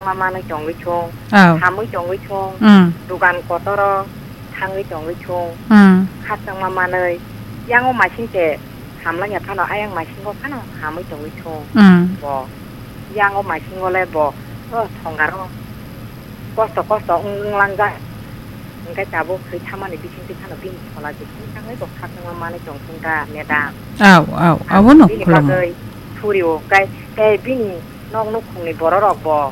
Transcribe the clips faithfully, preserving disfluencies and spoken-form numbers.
ma manwi tongwi thung, Aw. Hamwi tongwi thung, Mm. Dugan kotoro thangwi tongwi thung, Mm. Khachangma manwi, yango masing se hamlanya phano, ayang masingo phano hamwi tongwi thung. Mm. Bo yango masingo le bo, o thongaro kosto kosto wng, wnglangjak. Hingke tabuk thwi thamani bisingtwi phano bini phola je thwi thangwi bo khakchangma manwi tong thung da, madam. Aw, aw, Ang abono bini khulamo. Bagwi suri o, kai, tei bini nok nukhungni bororok bo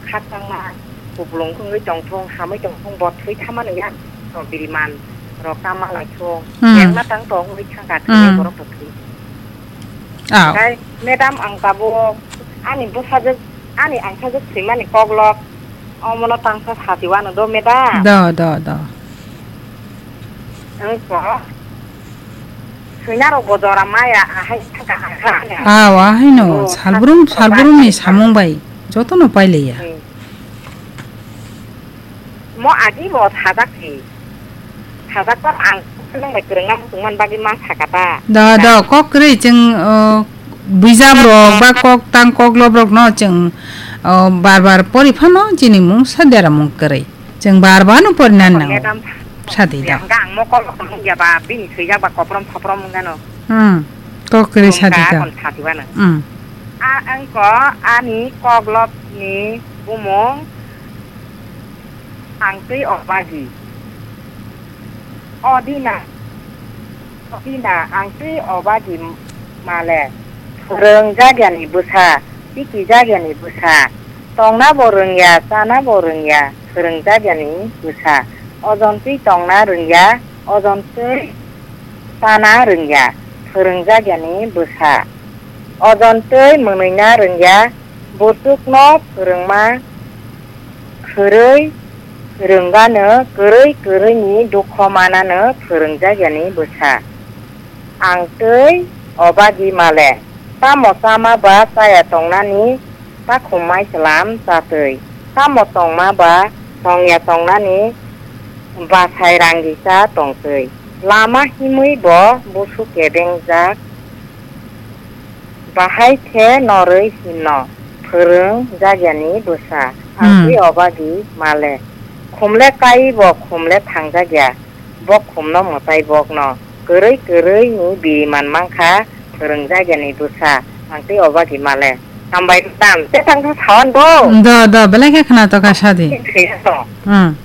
khakchangma kupulung wngwi tong thung, hamwi tong thung, bo thwi thamani ya, no biriman rok tama lai thung, Hmm. Yang na tang tong wngwi thangkha thwi Hmm. borok bo thwi. Aw. Kai, madam, ang tabuk ani bwsajwk, ani angsajwk thwimani koklok, omono tangsa sati wano do, madam. Do, do, do. Wngkha. Swinarok bo jora maya, ahai thangkha, ahai. Aw, ahaino, Oh, salbrum, thangkha, salbrumni thangkha. Samung bai, jotono paileya. Hmm. Mo agi bo sajak si. Sajak kok ang nang bai kwrwngna muchungman bagwi ma sakata. Do, do, kok kwrwi chwng, uh, buijak rok ba kok tang kok lob rok no chwng, uh, bar bar pori phano chini mung sa dera mung kwrwi. Chwng bar bar no pori nan nango. Madam, sadi do. Hwnkha ang mokol rok nung ya ba bini swijak ba koprom soprom wngano. Hmm. Kok kwrwi sadi do. Kon sadi wano. Hmm. A, ang ko ani kok lob ni bumung Ang twi obagi. O dina, o dina, ang twi obagi male. Phwrwng jagyani bwsa, tiki jagyani bwsa. Tongna bo rwngya, chana bo rwngya, phwrwng jagyani bwsa. Ojon twi tongna rwngya, ojon twi chana rwngya, phwrwng jagyani bwsa. Ojon twi mwnwina rwngya, buchukno phwrwngma khwrwi rwngano, kwrwi kwrwini dukho manano phwrwngjagyani bwsa. Ang twi obagi male, tamo chama ba chaya tongnani takhum mai chwlam chatwi, tamo tongma ba tongya tongnani bachai rangisa tongtwi. Lama himwi bo busu kebengjak. Bahai khe norwi himno phwrwng jagyani bwsa, ang Hmm. twi obagi male. Khumle kai bo khumle thangjak ya, bo khumno mwtai bokno. Kwrwi kwrwi ni biriman mankha phwrwng jagyani bwsa, ang twi obagi male. Hambai tam, te tang kha sawan bo. Do, do, belai khe khna to kha sadi. Thwi to. Hmm.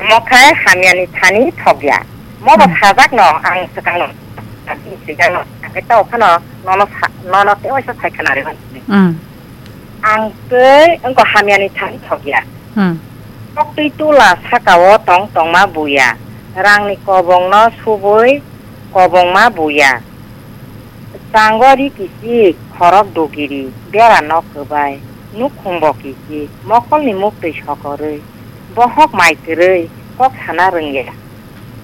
Mo khai hamyani thani thok ya. Mo bo Hmm. sajak no, ang swkang no. Ang twi swijak no. Ang khe to phano, nono sa-, nono te oisa sai khna re. Hmm. Ang tei wngkha hamyani thani thok ya. Hmm. Koktwi tula saka o tong tongma buya. Rangni kobongno subui kobongma buya. Chango ri kichik, khorok dugiri, bera nok kwbai, nukhung bo kichik, mokolni muktwi sokorwi, bohok mai kwrwi, kok sana rwngya.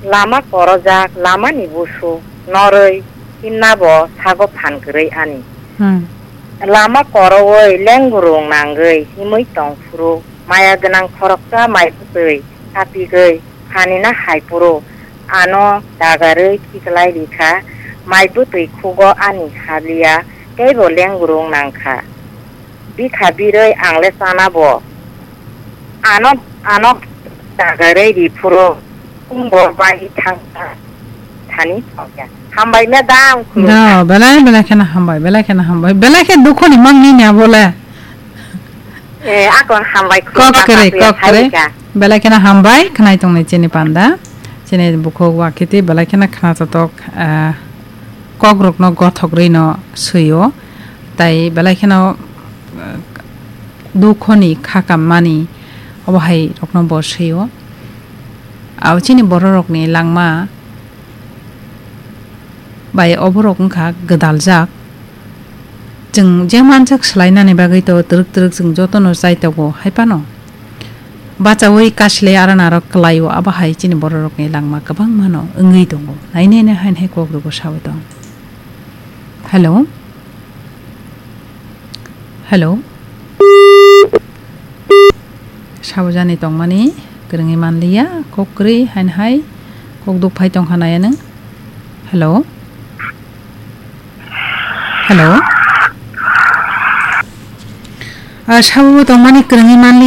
Lama korojak, lamani busu norwi himnabo sago phan kwrwi ani. Hmm. Lama korowoi lengrung nangwi himwi tong phuru, maya gwnang khoroksa mai bwtwi kapigwi phanina hai phuru, ano dagarwi khiklai rikha, mai bwtwi khugo ani habliya, teibo lengrung nangkha. Bikha birwi ang le chana bo. Ano, ano dagarwi ri phuru, umbo bai thangkha thani thokya. Hambai madam, khulumkha. Da, belai, belai kheno hambai, belai kheno hambai. Belai khe dukhoni mangni ni abo le. Eh, ako hambai, kok khulumkha, kwrwi, kok kwrwi. Belai kheno hambai, khnai tongnai chini panda. Chini bukhuk wakhiti, belai kheno khna totok, ah, kok rokno gothok rwi no swi o. Tai belai kheno, ah, dukhoni kha kammani obo hai rokno bo swi o. Abo chini borok rokni langma bai oborok wngkha gwdaljak. Chwng je manjak swlainani bagwi to twrwk twrwk chwng jotono chai tongo, hai phano bachaui kasilai aran aro kwlaio, abo hai chini borok rokni langma kwbangmano wngwi tongo. Nai nai nai haino hai kok rwgo sawi tong. Hello? Hello? Saujani tongmani kwrwngwi manliya, kok kwrwi haino hai kok duk phai tongkha naya nwng. Hello? Hello? Ah, sabubo tongmani kwrwngwi manliya.